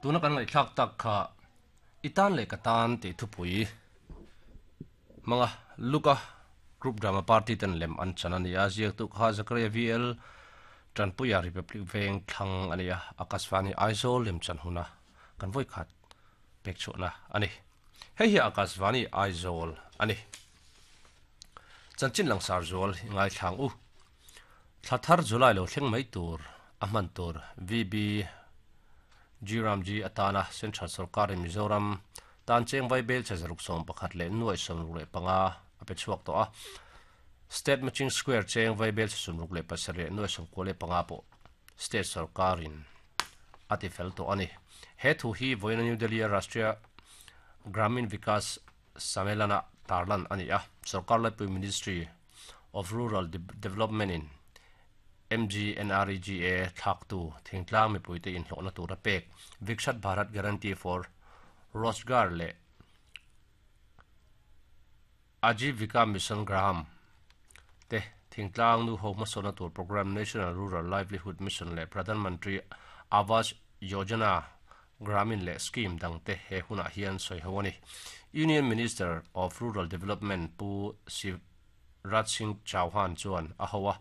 Tuna kan ngaihthlak tak kha i tan leh ka tan tih thupui hmanga Luka Group Drama Party ten lem an chan a ni a, ziaktu kha Zakaria VL Tanpuia Republic Veng thlang a ni a, Akashvani Aizawl lem chan huna kan vawikhat pek chhuahna a ni. Hei hi Akashvani Aizawl a ni. Chanchin langsar zual i ngaithlang u. Thla thar July lo thleng mai tur a hman tur VB G-Ramji atana Central Sorkarin Mizoram tan cheng vai bel che 116,605 a pe chhuak tawh a. State Matching Square cheng vai bel che 67,95 pawh State Sorkarin a ti fel tawh a ni. He thu hi vawiina New Delhi-a Rashtriya Gramin Vikas Sammelana tarlan a ni a, Sorkar Laipui Ministry of Rural Development-in MGNREGA thlaktu thingtlang mipuite inhlawhna tura pek Vikshat Bharat Guarantee for Rozgar leh Ajeevika Mission Graham te thingtlang nuho hmasawnna tur programme National Rural Livelihood Mission leh Pradhan Mantri Awas Yojana Gramin leh scheme dangte he hunah hian sawi ho a ni. Union Minister of Rural Development Pu Shivraj Singh Chauhan chuan a ho a.